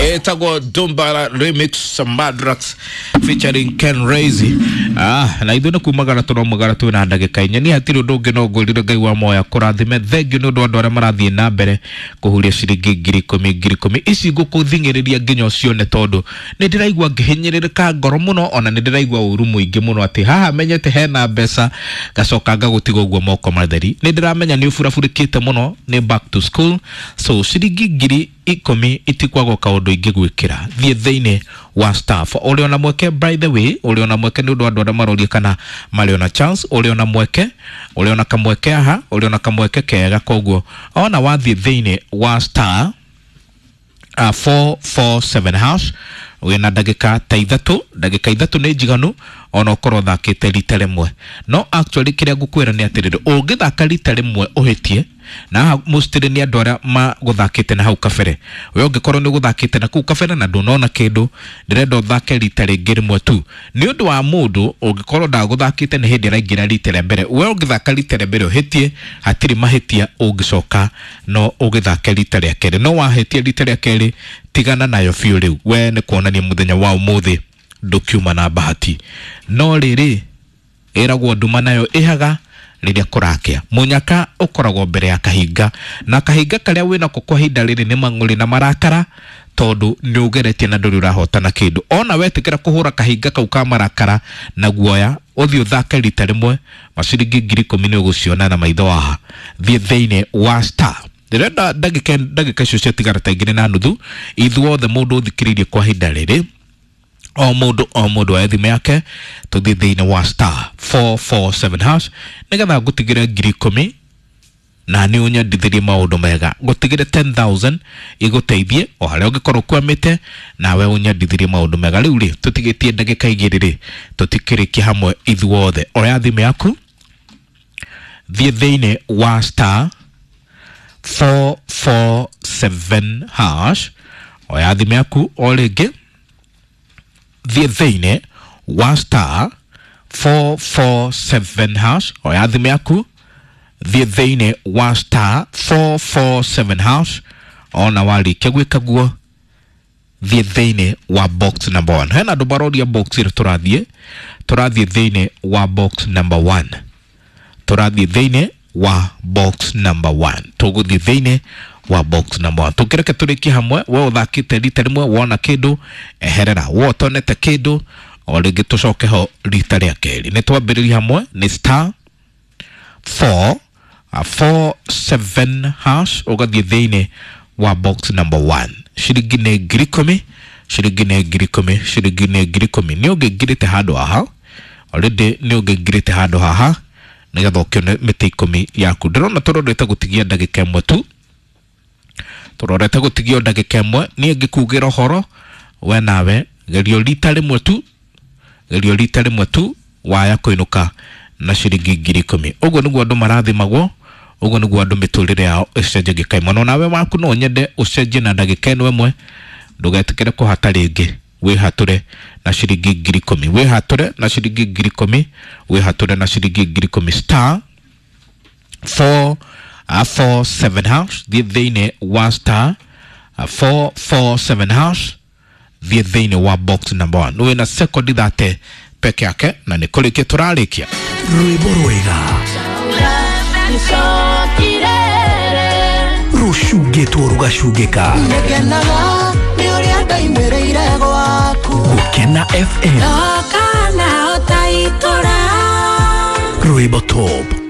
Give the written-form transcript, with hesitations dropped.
Etagwo Dumbara Remix Madrax featuring Ken Razy. Na ithuĩ nĩ kumagara tũraumagara twĩna ndagĩka inya. Niĩ hatirĩ ũndũ ũngĩ no ngwĩrire Ngai wa moya kũrathime. Thengiũ nĩ ũndũ wa andũ arĩa marathiĩ na mbere kũhuria ciringi 10,000 10,000 ici ngũkũthing'ĩrĩria nginya ũcione, tondũ nĩ ndĩraigua ngĩhinyĩrĩrĩka ngoro mũno, ona nĩ ndĩraigua ũru mũingĩ mũno atĩ haha menyete hena mbeca ngacoka ngagũtiga ũguo moko matheri. Nĩ ndĩramenya nĩ ũburaburĩkĩte mũno nĩ back to school, so ciringi 10,000 itikwagwo kaũndũ ingĩgwĩkĩra. Thiĩ thĩinĩ wa staff ũrĩ ona mweke, by the way, ũrĩ ona mweke nĩ ũndũ wa andũ arĩa maroria kana marĩ ona chance. Ũrĩ ona mweke, ũrĩ ona kamweke haha, ũrĩ ona kamweke kega. Koguo ona wathiĩ thĩinĩ wa star 447 hash wĩna ndagĩka ta ithatũ, ndagĩka ithatũ nĩ njiganu ona ũkorwo ũthakĩte rita rĩmwe. No actually kĩrĩa ngũkwĩra nĩ atĩrĩrĩ, ũngĩthaka rita rĩmwe ũhĩtie na haha mostly nĩ andũ arĩa magũthakĩte na hau kabere. We ũngĩkorwo nĩ ũgũthakĩte na kũu kabere na ndũnona kĩndũ, ndĩrenda ũthake rita rĩngĩ rĩmwe tu. Nĩ ũndũ wa mũndũ ũngĩkorwo ndagũthakĩte nĩ hĩndĩ araingĩra rita rĩa mbere, we ũngĩthaka rita rĩa mbere ũhĩtie, hatirĩ mahĩtia ũngĩcoka no ũgĩthake rita rĩa kerĩ. No wahĩtia rita rĩa kerĩ, tigana nayo biũ. Rĩu we nĩ kuonania mũthenya wa ũmũthĩ ndũkiuma na bahati. No rĩrĩ, ĩragwo nduma nayo ĩhaga rĩrĩa kũrakĩa. Mũnyaka ũkoragwo mbere ya kahinga, na kahinga karĩa wĩnako kwa ihinda rĩrĩ nĩ mang'ũrĩ na marakara, tondũ nĩ ũgeretie na ndũrĩ ũrahotana kĩndũ. Ona wetĩkĩra kũhũra kahinga kau ka marakara na guoya, ũthiĩ ũthake rita rĩmwe, maciringi 10,000 nĩ ũgũciona na maitho haha. Thiĩ thĩinĩ wa star, ndĩrenda ndagĩka icio ciatigara ta 2.5, ithuothe mũndũ ũthikĩrĩirie kwa ihinda rĩrĩ, o mũndũ o mũndũ oe thimũ yake, tũthiĩ thĩinĩ wa star 447 hash nĩgetha ngũtigĩre 10,000 na nĩ ũnyendithĩrie maũndũ mega. Ngũtigĩre 10,000 igũteithie o harĩa ũngĩkorwo ũkwamĩte, nawe ũnyendithĩrie maũndũ mega. Rĩu rĩ, tũtigĩtie ndagĩka igĩrĩ rĩ, tũtikĩrĩkie hamwe ithuothe. Oya thimũ yaku, thiĩ thĩinĩ wa star 447 hash. Oya thimũ yaku o rĩngĩ, thiĩ thĩinĩ wa star 447 hash. Oya thimũ yaku, thiĩ thĩinĩ wa star 447 hash. Ona warĩkia gwĩka guo, thiĩ thĩinĩ wa box number 1. Hena andũ maroria box ĩrĩa tũrathiĩ. Tũrathiĩ thĩinĩ wa box number 1. Tũrathiĩ thĩinĩ wa box number 1. Tũgũthiĩ thĩinĩ wa box number 1. Tũngĩreke tũrĩkie hamwe. We ũthakĩte rita rĩmwe wona kĩndũ, eherera. We ũtonete kĩndũ, o rĩngĩ tũcoke ho rita rĩa kerĩ. Nĩ twambĩrĩria hamwe, nĩ star 4 4 7 hash, ũgathiĩ thĩinĩ wa box number 1. Ciringi nĩ 10,000, ciringi nĩ 10,000, ciringi nĩ 10,000. Nĩ ũngĩngirĩte handũ haha already, nĩ ũngĩngirĩte handũ haha nĩgetha ũkĩone mĩtĩ 10 yaku. Ndĩrona tũrorete gũtigia ndagĩka ĩmwe tu, tũrorete gũtigio ndagĩka ĩmwe. Niĩ ngĩkugĩra ũhoro, we nawe gerio rita rĩmwe tu, gerio rita rĩmwe tu, waya kũinũka na ciringi 10,000. Ũguo nĩguo andũ marathimagwo, ũguo nĩguo andũ mĩtũrĩre yao ĩcenjagia kaimwe. No nawe waku no nyende ũcenjie na ndagĩka ĩno ĩmwe. Ndũgetĩkĩre kũhata rĩngĩ, wĩhatũre na ciringi 10,000, wĩhatũre na ciringi 10,000, wĩhatũre na ciringi 10,000. Star 4 4 7 hash, thiĩ thĩinĩ wa star 4 4 7 hash, thiĩ thĩinĩ wa box number 1. Wĩna sekondi 30 peke yake na nĩ kũrĩkia tũrarĩkia. Rwĩmbo rwega rũcungĩtwo rũgacungĩka. Ngenaga nĩ ũrĩa ndaimĩrĩire gwaku. Gũkena FM. Kana ũtaitũra. Rwĩmbo top.